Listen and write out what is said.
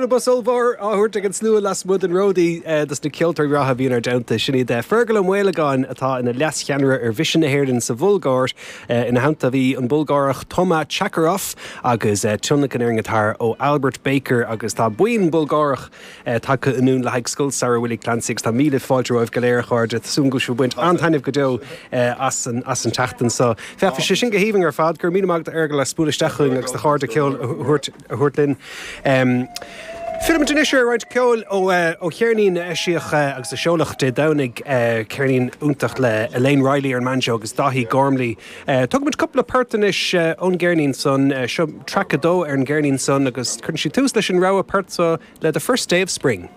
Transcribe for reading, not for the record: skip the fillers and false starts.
Bualadh bos ollmhór á thabhairt ag an slua lasmuigh den Ródaí dos na ceoltóirí breátha a bhí inár dteannta. Sin iad Fergal Ó Maolagáin atá ina leascheannaire ar Mhisean na hÉireann sa Bhulgáir. Ina theannta bhí an Bulgárach Toma Chakarov agus tionlacan ar an ngiotár ó Albert Baker agus tá buíon Bulgárach tagtha anonn le haghaidh Scoil Samhraidh Willie Clancy agus tá míle fáilte romhaibh go léir, a chairde. Tá súil agam go bhfuil sibh ag baint an-taitneamh go deo as an as an tseachtain seo. Féach, bhí sé sin go haoibhinn ar fad. Go raibh míle maith agat, a Fheargail, as bualadh isteach chugainn agus do chairde ceoil a thabhairt a thabhairt linn. Fillfimid anois ar roinnt ceoil ó ó cheirnín a eisíodh agus a seoladh Dé Domhnaigh, ceirnín iontach le Elaine Reilly ar an mbanjo agus Daithí Gormley. Tógfaimid cúpla port anois ón gceirnín san. Seo traic a dó ar an gceirnín san agus cuireann sí tús leis an rogha port seo le The First Day of Spring.